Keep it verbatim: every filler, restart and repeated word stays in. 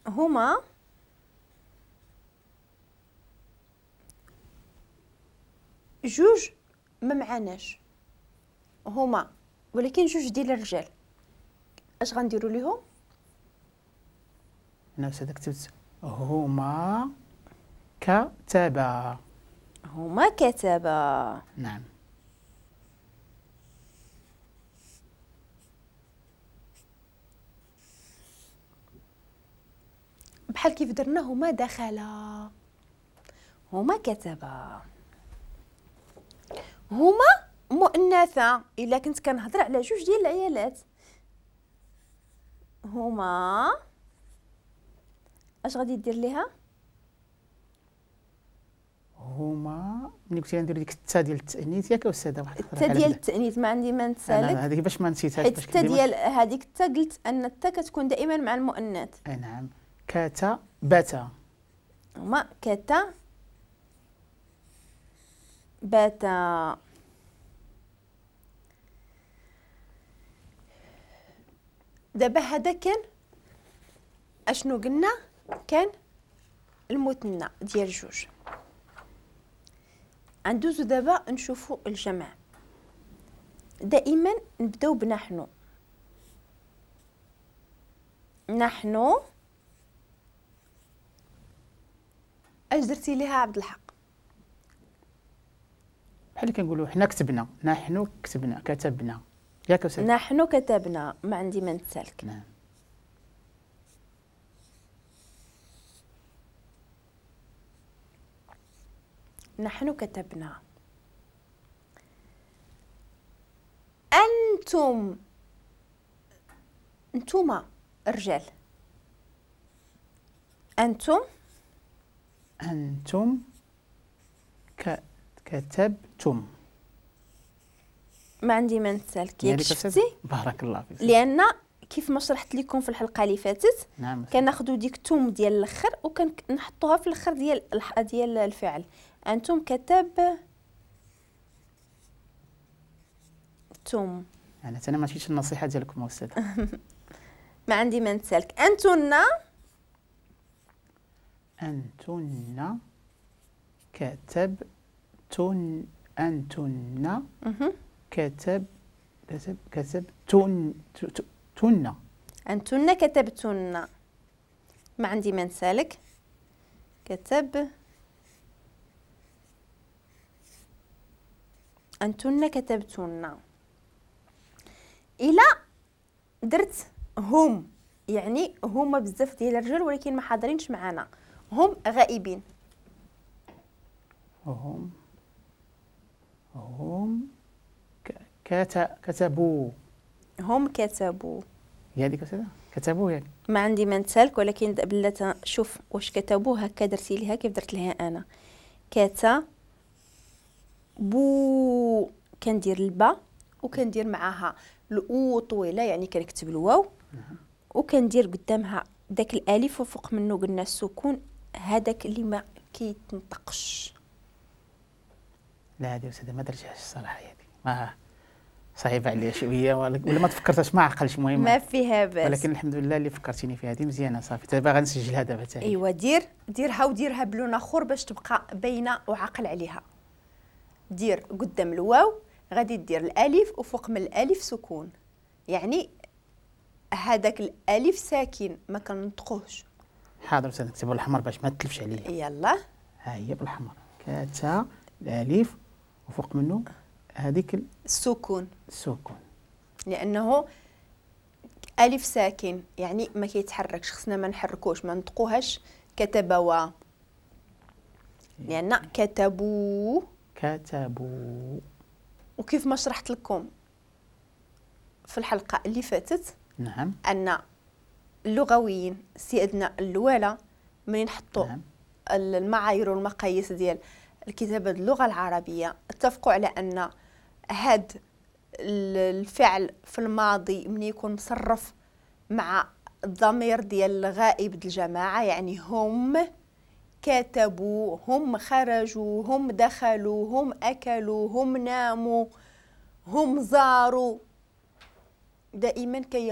هما جوج ما معناش هما، ولكن جوج ديال الرجال، اش غنديروا ليهم؟ انا استاذ كتبت هما كتبا. هما كتبا. نعم. بحال كيف درنا هما دخلا، هما كتبا. هما مؤنثة الا كنت كنهضر على جوج ديال العيالات. هما اش غادي دير ليها؟ هما ملي قلتي ندير ديك التا ديال التانيث ياك استاذه؟ واحد التا ديال التانيث ما عندي ما نتسالك، هذيك باش ما نسيتهاش. حيت التا ديال هذيك التا قلت ان التا كتكون دائما مع المؤنث. اي نعم. كتبتا. هما كتا باتا. دابا هذا كان اشنو قلنا؟ كان المثنى ديال جوج. غندوزو دابا نشوفو الجمع. دائما نبداو بنحن. نحن اش درتي ليها عبد الحق؟ بحال اللي كنقولوا حنا كتبنا، نحن كتبنا، كتبنا ياك أستاذ؟ نحن كتبنا، ما عندي ما نتسالك. نعم. نحن كتبنا. أنتم، أنتما الرجال، أنتم أنتم ك... كتبتم. ما عندي ما نتسالك ياك شفتي؟ بارك الله فيك. لأن كيف ما شرحت لكم في الحلقة اللي فاتت، نعم، كناخذوا ديك توم ديال الاخر وكنحطوها في الاخر ديال ديال الفعل. انتم كتبتم. يعني انا ما مشيتش النصيحة ديالكم استاذ. ما عندي ما نتسالك. انتن انتن كتبتن. انتن كتب كتب كتبتن تن. أنتن كتبتن. ما عندي ما نسالك. كتب أنتن كتبتن. إلا درت هم، يعني هما بزاف ديال الرجال ولكن ما حاضرينش معانا، هم غائبين. هم هم كتبوا. هم كتبوا. هي هذيك أستاذة؟ كتبوا يعني. ما عندي ما نتسالك، ولكن بلا شوف واش كتبوا هكا درتي ليها كيف درت لها انا. كتبوا كندير البا وكندير معاها الاو طويلة، يعني كنكتب الواو. نعم. وكندير قدامها داك الالف وفوق منه قلنا السكون، هذاك اللي ما كيتنطقش. لا هذه أستاذة ما درتهاش الصراحة، هذه ما صعيبة عليا شوية، ولا ما تفكرتهاش، ما عقلش. المهم ما فيها باس، ولكن الحمد لله اللي فكرتيني فيها هذه مزيانه. صافي دابا غنسجلها دابا حتى هي. ايوا دير ديرها وديرها بلون اخر باش تبقى باينة وعقل عليها. دير قدام الواو غادي دير الالف وفوق من الالف سكون، يعني هذاك الالف ساكن ما كنطقوهش. حاضر استاذ، نكتبو بالأحمر باش ما تلفش عليا. يلا ها هي بالأحمر، كاتا الالف وفوق منه هذيك السكون. السكون لانه الف ساكن يعني ما كيتحركش، خصنا ما نحركوش، ما نطقوهاش كتبوا، لان كتبوا كتبوا. وكيف ما شرحت لكم في الحلقة اللي فاتت، نعم، ان اللغويين سيادنا الاولى منين حطوا نعم. المعايير والمقاييس ديال الكتابة اللغة العربية، اتفقوا على ان هاد الفعل في الماضي من يكون مصرف مع الضمير ديال الغائب ديال الجماعة، يعني هم كتبوا، هم خرجوا، هم دخلوا، هم اكلوا، هم ناموا، هم زاروا، دائما كياخذ